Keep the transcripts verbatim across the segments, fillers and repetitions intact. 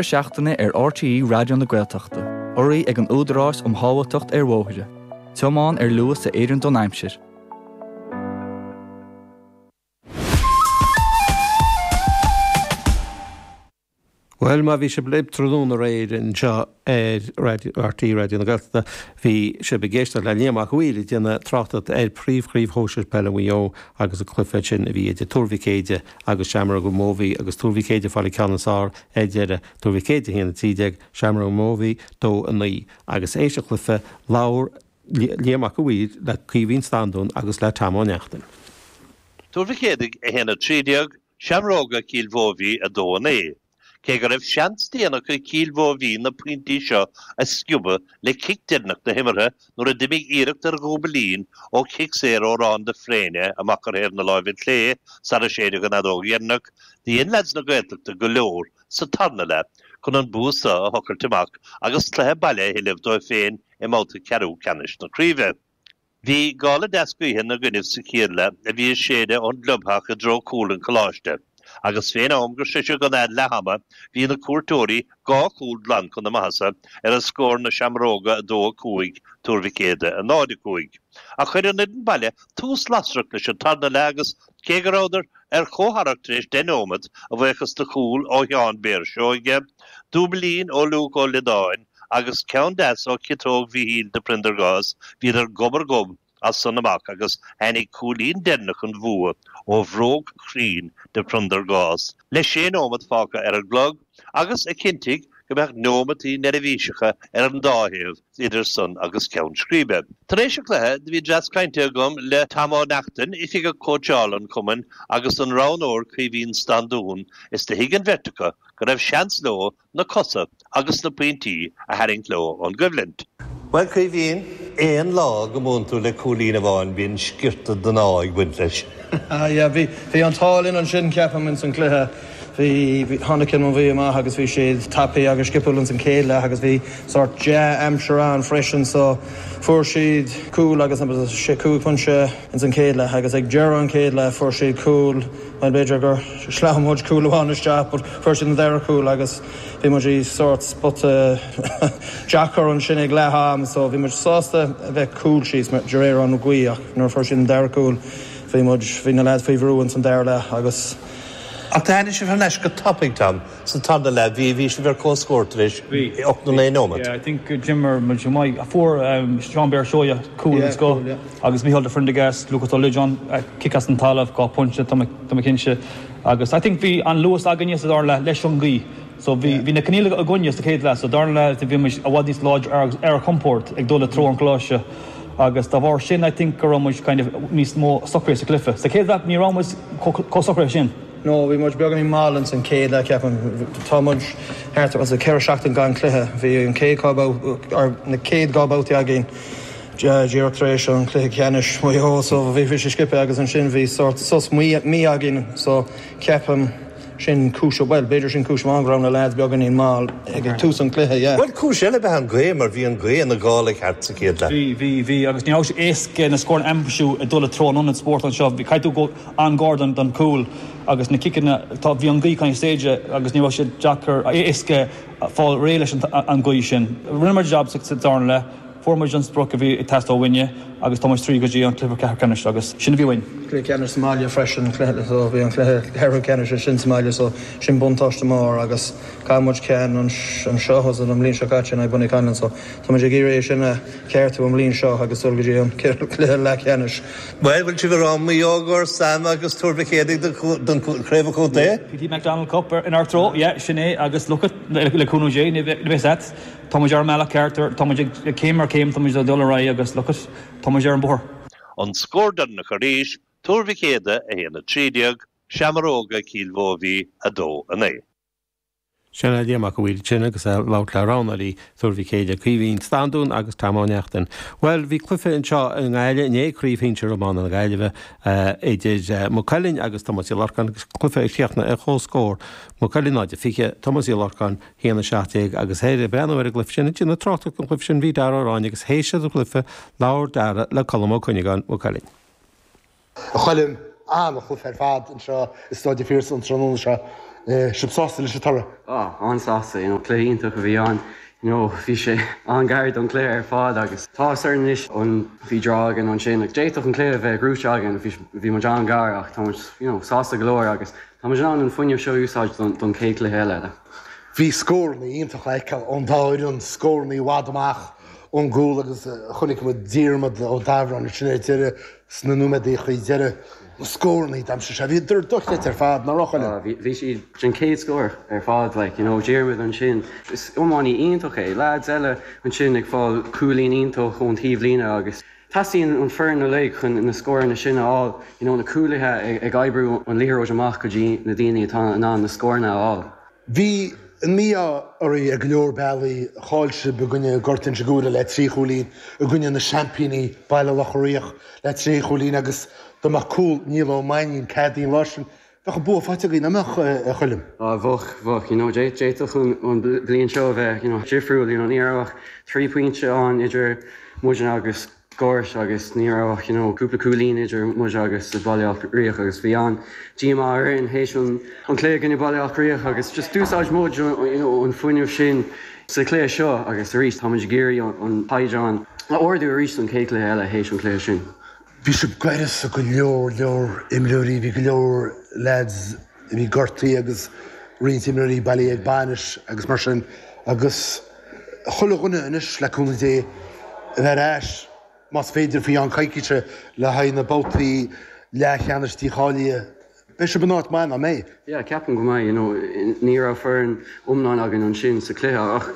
Seachtaine ar RTÉ Raidió na Gaeltachta, urraithe ag an Údarás um Shábháilteacht ar Bhóithre. Tiomáin ar luas a oireann don aimsir. Bhuel, má bhí sibh linn tráthnóna aréir anseo ar RTÉ Raidió na Gaeltachta, bhí sibh ag éisteacht le Liam Mac a' Mhaoir ag déanamh tráchtaireacht ar Phríomhchraobh Shóisir Peile Mhaigh Eo agus an cluiche sin a bhí idir Tuar Mhic Éide agus Seamróga Mhóibí agus Tuar Mhic Éide ag fáil an ceann is fearr ar deireadh, Tuar Mhic Éide a haon a trí déag, Seamróga Mhóibí dó a naoi. Agus théis an chluiche, labhair Liam Mac a' Mhaoir le Caoimhín Standún agus le Tom Ó Neachtain. Tuar Mhic Éadaigh a haon a trí déag, Seamróga Chill Mhóibí a dó a naoi. Cé go raibh seans déanach ag Cill Mhóibhí na pointí seo a sciobadh le cic deireanach na himeartha nuair a d'imigh iarracht ar dhúbailín ó chic saor ó Rán de Fréine amach ar thaobh na láimhe clé sara séideadh an fheadóg dheireanach, do dhein leaids na Gaeltachta go leor sa tarna leath chun an bua seo a thochailt amach agus cluiche baile a thuilleamh dóibh féin i mbabhta ceathrú ceannais na craoibhe. Bhí gála deas gaoithe ina gcoinnibh sa chéad leath a bhí ag séideadh ón gclubtheach i dtreo cúl an Choláiste, agus fén am gur sroiseadh an fhead leath-ama bhí na cuairteoirí dhá chúl glan chun na maitheasa ar an scór na Seamróga a dó a cúig, Tuar Mhic Éadaigh a náid a cúig. Ach chuir an fhoireann baile tús lasrach leis an tarna leath agus, cé go rabhadar ar comhtharrac tar éis deich nóimeat, a bhuíochas do chúl ó Sheán Béar Seoige, dúbailín ó Luke Ó Liodáin, Agus ceann deas ó chiotóg Mhíchíl de Priondargás, bhíodar gob ar ghob as san amach agus tháinig cúilín deireanach an bhua ó bhróg chruinn de Phriondargás le sé nóimeat fágtha ar an gclog agus a chinntigh go mbeadh neomataí neirbhíseacha ar an dá thaobh idir san agus ceann scríbe. Tar éis an chluiche do bhí dreas cainte agam le Tom Ó Neachtain, Oifigeach Cóitseála an chumainn, agus an roghnóir Caoimhín Standún is do thuig an bheirt acu go raibh seans leo na cosa agus na pointí a tharraingt leo ón gcoimhlint. Bhuel, Caoimhín, aon lá go mbuann tú le cúilín amháin bíonn sciorta den ádh ag baint leis. Yeah, bhí, bhí an t-ádh linn ansin, ceapaim, ins an gcluiche. Bhí, bhí, tháinig Cill Mobhí amach agus bhí siad tapaidh agus sciopúil ins an chéad leath agus bhí sórt dea-aimsir ann freisin so fuair siad cúl agus sé cúig phointe ins an chéad leath agus ag deireadh an chéad leath fuair siad cúl, bhuel b'fhéidir gur shleamhain muid cúl amháin isteach but fuair siad an dara cúl agus bhí muid i sórt spota deacair ansin ag leath am so bhí muid sásta a bheith cúl síos de réir an ghaoth ach nuair a fuair siad an dara cúl bhí muid, bhí na lads faoi bhrú ins an dara leath agus. Ach tháinig sibh thar n-ais go tapaidh, Tom, sa tarna leath, bhí, bhí sibh ar comhscór tar éis ocht nó naoi nóiméad. Yeah, I think d'imir muid go maith. Fuair Seán Béar Seoighe cúl den scoth agus Mícheál de Phriondargás, Lucas Ó Loideáin, cic as an talamh, dhá phointe, tá mé, tá mé cinnte. Agus I think bhí an luas againne sa dara leath leis an ngaoth. So bhí, bhí na coinníollacha againne sa chéad leath. Sa dara leath bhí muid i bhfad níos láidre ar, ar ár gcompord ag dul i dtreo an choláiste. Agus dá bharr sin I think go raibh muid kind of níos mó socraithe sa chluiche. Sa chéad leath ní raibh muid chomh socraithe sin. No, bhí muid beagáinín mall ins an chéad leath ceapaim. Tá muid thart ar ceithre seachtain gan cluiche. Bhí an chéad dhá babhta, or na chéad dhá babhtaí againn díreach tar éis an chluiche ceannais Maigh Eo so bhí sé sciobtha agus ansin bhí sórt sos mí againn so ceapaim sin cúis, bhuel b'fhéidir sin cúis amháin go raibh na lads beagáinín mall ag tús an chluiche, yeah. Bhuel cúis eile ab ea an ghaoth mar bhí an ghaoth ina gála ceart sa chéad leath. Bhí, bhí, bhí agus ní raibh sé éasca na scóranna a aimsiú ag dul i dtreo an ionad spóirt anseo. Bhí, caithfidh tú dul an-ghar don, don chúl agus na ciceanna, tá, bhí an ghaoth kind of séideadh agus ní raibh sé deacair, éasca fáil réidh leis an, an ghaoth sin. Rinne muid jab sa, sa darna leath. Fuair muid an sprioc a bhí ag teastáil uainne agus tá muid tríd go dtí an cluiche ceathrú ceannais agus sin a bhí uainn. Cluiche ceannais sa mbaile freisin, cluiche so bhí an cluiche ceathrú ceannais ansin sa mbaile so sin buntáiste mór agus chaill muid ceann anseo an bhliain seo caite in aghaidh Bonniconlon so tá muid ag iarraidh é sin a cheartú an bhliain seo agus dul go dtí an cluiche leathcheannais. Bhuel, bhfuil sibh ag rá Maigh Eo i gCorn Sam agus Tuar Mhic Éadaigh don chraobh chontae? PT McDonald Cup inár dtreo, yeah, sin é agus look at, le cúnamh Dé, ní bheidh fhios a't. Tá muid ar an mbealach ceart, tá muid ag céim ar chéim, tá muid ag dul ar aghaidh agus look at, tá muid ar an bóthar. An scór deireanach arís, Tuar Mhic Éadaigh a haon a trí déag, Seamróga Cill Mhóibhí a dó a naoi. Sin é Liam Mac a' Mhaoir ansin agus é ag labhairt le roghnóirí Tuar Mhic Éadaigh, Caoimhín Standún agus Tom Ó Neachtain. Bhuel, bhí cluiche anseo i nGaillimh inné, Craobh Shinsir Iomána na Gaillimhe, idir Maigh Cuilinn agus Tomás Uí Lorcáin agus cluiche a chríochnaigh ar comhscór, Maigh Cuilinn náid a fiche, Tomás Uí Lorcáin haon a seacht déag agus ag breathnú ar an gcluiche sin, ag déanamh tráchtaireacht ar an gcluiche sin bhí Dara Ó Ráinne agus théis an chluiche labhair Dara le Colm Ó Cuinneagáin, Maigh Cuilinn. A Choilm, an-chluiche ar fad anseo i Staid an Phiarsaigh an tráthnóna seo Sibh sásta leis an toradh? Ah, an-sásta, you know, cluiche iontach a bhí ann. You know, bhí sé an-ghar don chluiche ar fad agus tá ar anois an bhí draw againn ansin, like, d'fhéadfadh an cluiche a bheith gnóthaithe againn, bhí bhí muid an-ghar ach tá muid, you know, sásta go leor agus tá muid in ann an fuinneamh seo a úsáid don, don chéad chluiche eile. Bhí scóranna iontach le feiceáil ón dá fhoireann, scóranna i bhfad amach ón gcúl agus chonaic muid Diarmuid Ó Dabhráin ansin ar deireadh sna nóiméadaí deiridh. Na scóranna d'aimsigh sé, bhíodar dochreidte ar fad, nach raibh, a Choilm? Bhí, bhí siad den chéad scór ar fad, like, you know, Diarmuid ansin, is iománaí iontach é, lads eile ansin ag fáil cúilín iontach ón taobhlíne agus teastaíonn an foireann uilig chun na scóranna sin a fháil, you know, na cúlaithe ag, ag oibriú an liathróid amach go dtí na daoine atá in ann na scóranna a fháil. Bhí an mí-ádh oraibh ar go leor bealaí, chaill sibh i gcoinne Gort Inse Guaire le trí chúilín, i gcoinne na seaimpíní Baile Locha Riach le trí chúilín agus dá mbeadh cúl Niall Ó Mainnín ceadaithe an lá sin, bheadh an bua faighte agaibh, nach mbeadh, a Choilm? Ah, bheadh, bheadh, you know, d'fhéadfadh an, an bliain seo a bheith, you know, difriúil, you know, ní raibh ach trí phointe ann idir muidne agus Gort agus ní raibh ach, you know, cúpla cúilín idir muid agus Baile Átha Riach agus bhí an díomá orainn théis an an cluiche i gcoinne Baile Átha Riach agus just d'úsáid muid you know, an fuinneamh sin sa chluiche seo agus arís tá muid ag iarraidh an caighdeán a ardú arís don chéad chluiche eile théis an chluiche sin. Bhí sibh gaireasa go leor leor imreoirí, bhí go leor lads a bhí gortaithe agus roinnt imreoirí bailithe ag bainis agus mar sin agus chuile dhuine anois le cúnamh Dé a bheith ar ais más féidir faoi cheann coicíse le haghaidh na babhtaí leathcheannais dícháilithe. Beidh sibh in áit mhaith, nach mbeidh? Yeah, ceapaim go mbeidh, you know, ní raibh foireann iomlán againn ansin sa chluiche ach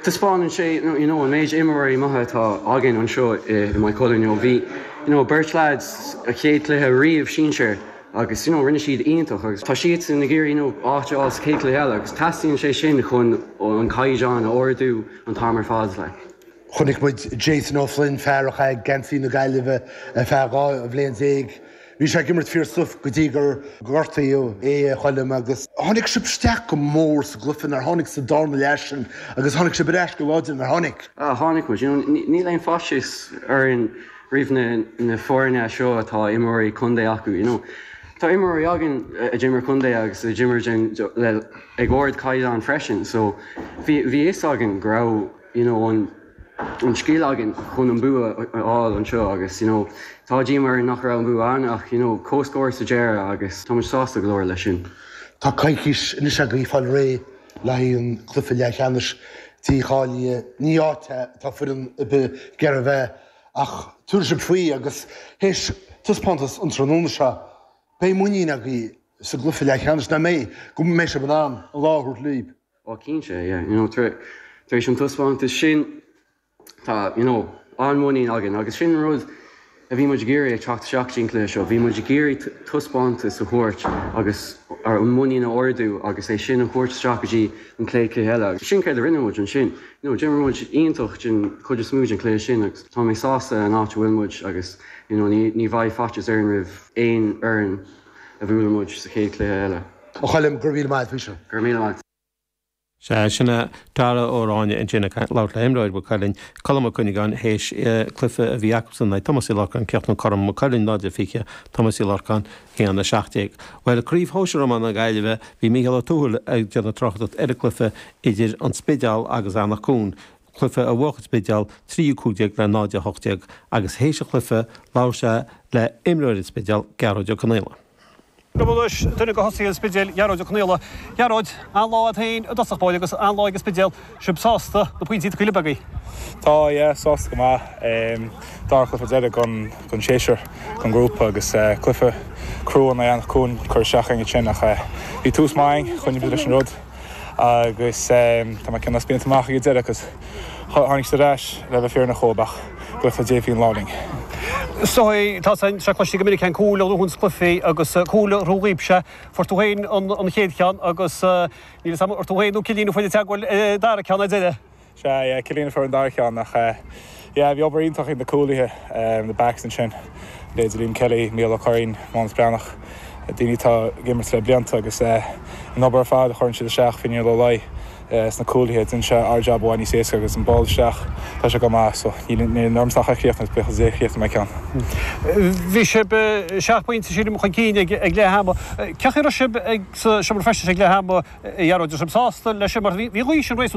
taispeánann sé, you know, an méid imreoirí maithe atá againn anseo i Maigh Cuilinn, you know, bhí, you know, beirt lads a chéad chluiche riamh sinsir agus, you know, rinne siad iontach agus tá siadsan ag iarraidh, you know, áit a fháil sa chéad chluiche eile agus teastaíonn sé sin chun an caighdeán a ardú an t-am ar fad, like. Chonaic muid Jason O'Flynn, fear a chaith geansaí na Gaillimhe ar feadh dhá bhliain déag. Bhí sé ag imirt fíor-stuif go dtí gur gortaíodh é, a Choilm, agus tháinig sibh isteach go mór sa gcluiche, nár tháinig sa darna leath sin agus tháinig sibh ar ais go láidir, nár tháinig? Ah, tháinig muid. You know, níl aon faitíos orainn roimh na na foirne seo atá imreoirí contae acu, you know. Tá imreoirí againn a d'imir contae agus a d'imir le ag ardchaighdeán freisin, so bhí bhí fhios againn go raibh, you know, an an scil againn chun an bua a fháil anseo agus you know, tá díomá orainn nach raibh an bua ann ach you know, comhscór sa deireadh agus tá muid sásta go leor leis sin. Tá coicís anois agaibh fáil réidh le haghaidh an cluiche leathcheannais dícháilithe. Ní áit atá foireann ar bith ag iarraidh a bheith ach tabharfaidh sibh faoi agus théis taispeántas an tráthnóna seo beidh muinín agaibh sa gcluiche leathcheannais, nach mbeidh, go mbeidh sibh in ann an lá a thabhairt libh. Ó cinnte, yeah, you know, tar éis an taispeántas sin tá you know, an-mhuinín againn agus sin an rud a bhí muid ag iarraidh ag teacht isteach sa gcluiche seo, bhí muid ag iarraidh taispeántas a thabhairt agus an muinín a ardú agus é sin a thabhairt isteach go dtí an chéad chluiche eile. Sin céard a rinne muid ansin. You know, d'imir muid iontach den chuid is mó den chluiche sin agus tá mé sásta an áit a bhfuil muid agus you know, ní, ní bheidh faitíos orainn roimh aon fhoireann a bhuailfidh muid sa chéad chluiche eile. A Choilm, go raibh míle maith faoi seo. Go raibh míle maith. Sea, sin é Dara Ó Ráinne ansin ag labhairt le himreoir Mhaigh Cuilinn, Colm Ó Cuinneagáin, théis cluiche a bhí acusan in aghaidh Tomás Uí Lorcáin, críochnú cothrom Maigh Cuilinn náid a fiche, Tomás Uí Lorcáin haon a seacht déag. Bhuel, Craobh Shóisir Iomána na Gaillimhe, bhí Mícheál Ó Tuathail ag déanamh tráchtaireacht ar an gcluiche idir an Spidéal agus Eanach Cuain, cluiche a bhuaigh an Spidéal trí a cúig déag le náid a hocht déag, agus théis an chluiche labhair sé le imreoir an Spidéil, Gearóid Ó Conaola. Liom anois duine de thosaithe an Spidéil, Gearóid Ó Conaola. Gearóid, an-lá agat féin i dtosach báire agus an-lá ag an Spidéal. Sibh sásta na pointí tugtha libh agaibh? Tá, yeah, sásta go maith. Dara cluiche deiridh den den séasúr, den ghrúpa agus cluiche crua in aghaidh Eanach Cuain cur isteach againn ansin ach bhí tús maith againn, choinnigh muid leis an rud agus tá mé cineál spíonta amach ag an deireadh cos tháinig siad ar ais le bheith fírinneach dhóibh ach buíochas le Dia bhí an lá linn. So tá sé cloiste go minic an cúl a ghnóthaíonns cluichí agus cúl a ghnóthaigh sibhse. Fuair tú féin an chéad cheann agus níl fhios agam ar tú féin nó Cillian a fuair an teagmháil dara ceann ar deireadh. Sea, yeah, Cillian a fuair an dara ceann ach yeah, bhí obair iontach ag na cúlaithe, na backs ansin, leithéidí Liam Kelly, Mícheál Ó Curraoin, Mánas Breathnach, daoine atá ag imirt le blianta agus an obair ar fad a chuireann siad isteach, Finian Ó Laoi, sna cúlaithe dhein sé ár job i bhfad níos éasca agus an ball isteach tá sé go maith so níl ormsa ach a chríochnú buíochas le Dia chríochnaigh mé ceann. Bhí sibh seacht bpointe sílim chun cinn ag leath ama. Cén chaoi a raibh sibh ag sa seomra feistis ag leath ama a Ghearóid, raibh sibh sásta leis sin mar bhí an ghaoth sin réasúnta